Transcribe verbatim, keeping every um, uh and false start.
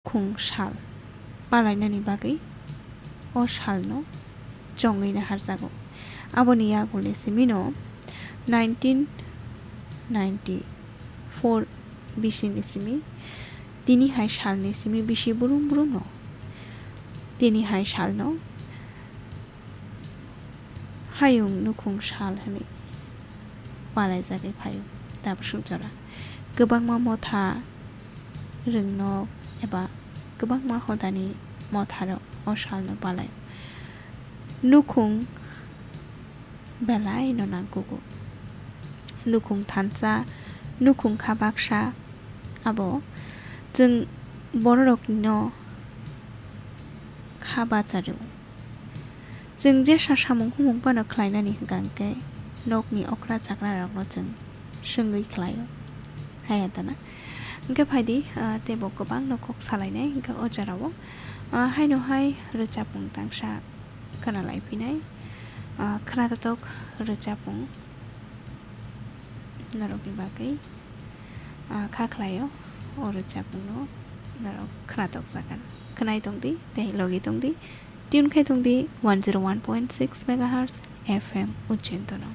Nukhung sal palainani bagwi o salno chongwi naharjago. Aboni yagulni simino nineteen ninety-four bisini simi tini hai salni simi bisi brum brumno tini hai salno hayung nukhung sal hwnwi palaijagwi phaio. Tabuk suk jora kwbangma motha rwngnok eba kwbangma hodani motharok o salno palai. Nukhung belai no nangkugo. Nukhung thansa, nukhung kha baksa, abo chwng bororokno kha bachario. Chwng jesa samung humung phano khlainani hwnkha hwnkhe nokni okra chakra rokno chwng swngwi khlaio. Haya tana. Hwnkhe phaidi, ah, teibo kwbangno kok salainai hwnkhe o jorao. Ah, haino hai rwchapmung tangsa khwnalai phinai. Ah, khwnatotok rwchapmung norokni bagwi, ah, kha khlaio. O rwchapmungno norok khwnatok jagan. Khwnai tongdi, tei logi tongdi. Tune khai tongdi one zero one point six megahertz F M Ujjain tono.